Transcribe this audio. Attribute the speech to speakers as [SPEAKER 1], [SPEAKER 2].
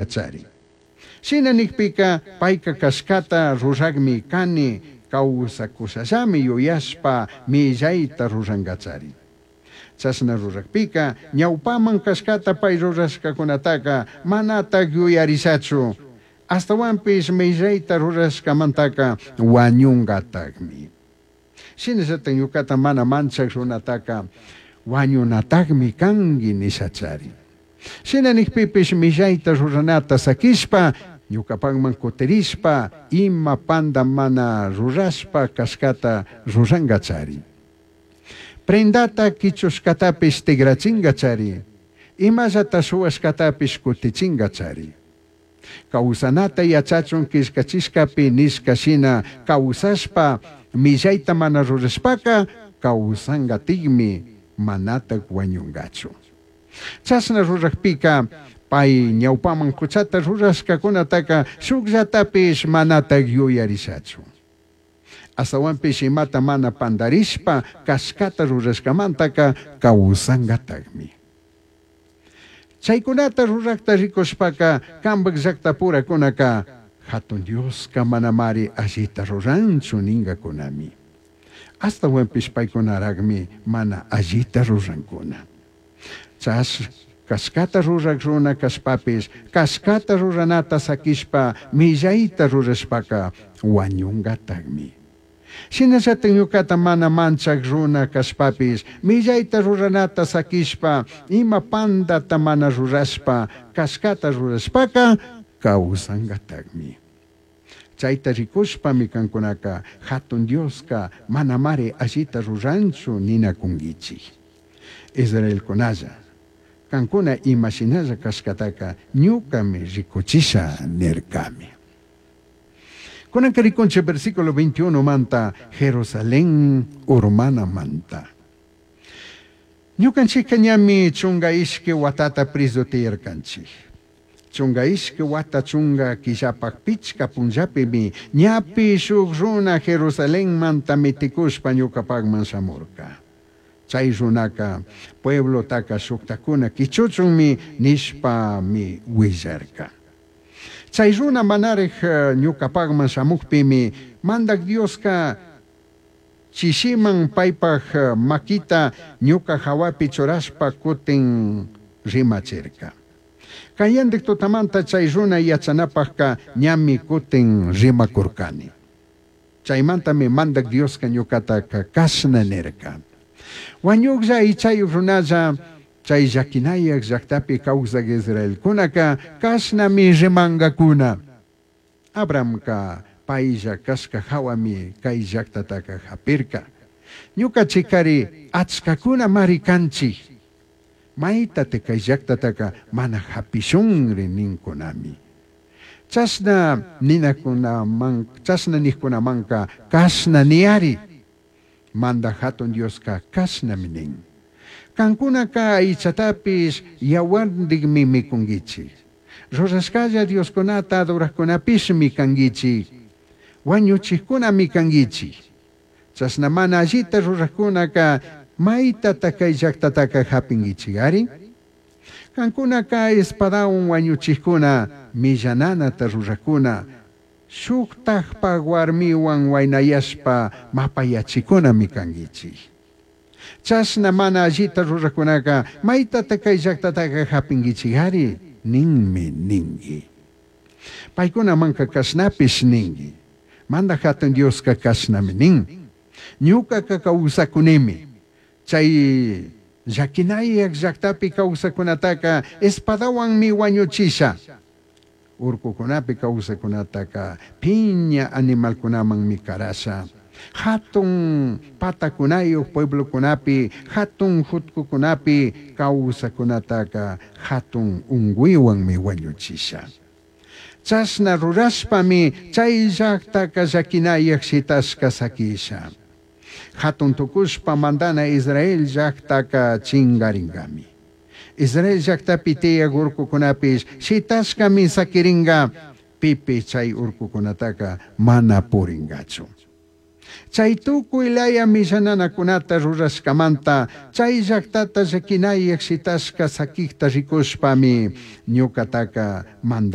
[SPEAKER 1] Chari. Shina nijpica paica cashcata rurajmi cani causacushallami yuyashpa millaita rurangachari. Chashna rurajpica ñaupaman cashcata pai rurashcacunataca manataj yuyarishachu. Ashtahuanpish millaita rurashcamantaca huañungatajmi. Shinallataj ñucata mana manchaj runataca huañunatajmi cangui nishachari. Shina nijpipish millaita ruranata saquishpa ñucapajman cutirishpa ima panda mana rurashpa cashcata rurangachari. Prendata quichushcatapish tigrachingachari. Imallata shuhuashcatapish cutichingachari. Causanata yachachun quillcachishcapi nishca shina causashpa millaita mana rurashpaca causangatikmi manataj huañungachu. Chashna rurajpica pai ñaupaman juchata rurashcacunataca shujllatapish manataj yuyarishachu. Ashtahuanpish imata mana pandarishpa cashcata rurashcamantaca causangatajmi. Chaicunata rurajta ricushpaca cambaj llactapuracunaca Jatun Diosca manamari allita ruranchu ningacunami. Ashtahuanpish paicunarajmi mana allita rurancuna. Chash cashcata ruraj runa cashpapish cashcata ruranata saquishpa millaita rurashpaca huañungatajmi. Shinallataj ñucata mana manchaj runa cashpapish millaita ruranata saquishpa ima pandata mana rurashpa cashcata rurashpaca causangatajmi. Chaita ricushpami cancunaca Jatun Diosca manamari allita ruranchu ninacunguichij. Israelcunalla, cancuna ima shinalla cashcataca ñucami ricuchisha nircami. Cunanca ricunchij versículo 21 manta Jerusalén urmanamanta. Ñucanchijca ñami chunga ishqui huatata prezu tiyarcanchij. Chunga ishqui huata chunga quillapaj pichca punllapimi ñapi shuj runa Jerusalenmanta miticushpa ñucapajman shamurca. Chai runaca pueblotaca shujtajcuna quichuchunmi nishpami huillarca. Chai runa manaraj ñucapajman shamujpimi Mandaj Diosca chishiman paipaj maquita ñuca jahuapi churashpa cutin rimachirca. Cayandij tutamanta chai runa yachanapajca ñami cutin rimacurcani. Chaimantami Mandaj Diosca ñucataca cashna nirca. Huañujlla aichayuj runalla chai llaquinayaj llajtapi causaj israelcunaca cashnami rimangacuna. Abrahamca pailla cashca jahuami cai llajtataca japirca. Ñucanchijcari achcacunamari canchij. Maitate cai llajtataca mana japishunri nincunami. Chashna ninacunaman, chashna nijcunamanca cashna niyari. Mandaj Jatun Diosca cashnami nin. Cancunaca aichatapish yahuarndijmi micunguichij. Rurashcalla dioscunata adorajcunapishmi canguichij. Huañuchijcunami canguichij. Chashna mana allita rurajcunaca maitata cai llajtataca japinguichigari? Cancunaca espadahuan huañuchijcuna, millananata rurajcuna, shujtajpaj huarmihuan huainayashpa mapayachicunami canguichij. Chashna mana allita rurajcunaca maitata cai llajtataca japinguichigari? Ninmi ningui. Paicunamanca cashnapish ningui. Mandaj Jatun Diosca cashnami nin. Ñucaca causacunimi. Chai llaquinayaj llajtapi causacunataca espadahuanmi huañuchisha. Urcucunapi causacunataca piña animalcunamanmi carasha. Jatun patacunayuj pueblocunapi, jatun jutcucunapi causacunataca jatun ungüihuanmi huañuchisha. Chashna rurashpami chai llajtaca llaquinayaj shitashca saquisha. Jatun tucushpa mandana Israel llajtaca chingaringami. Israel llajtapi tiyaj urcucunapish shitashcami saquiringa, pipish chai urcucunataca mana puringachu. Chai tucui laya millananacunata rurashcamanta chai llajtata llaquinayaj shitashca saquijta ricushpami ñucataca Mandaj.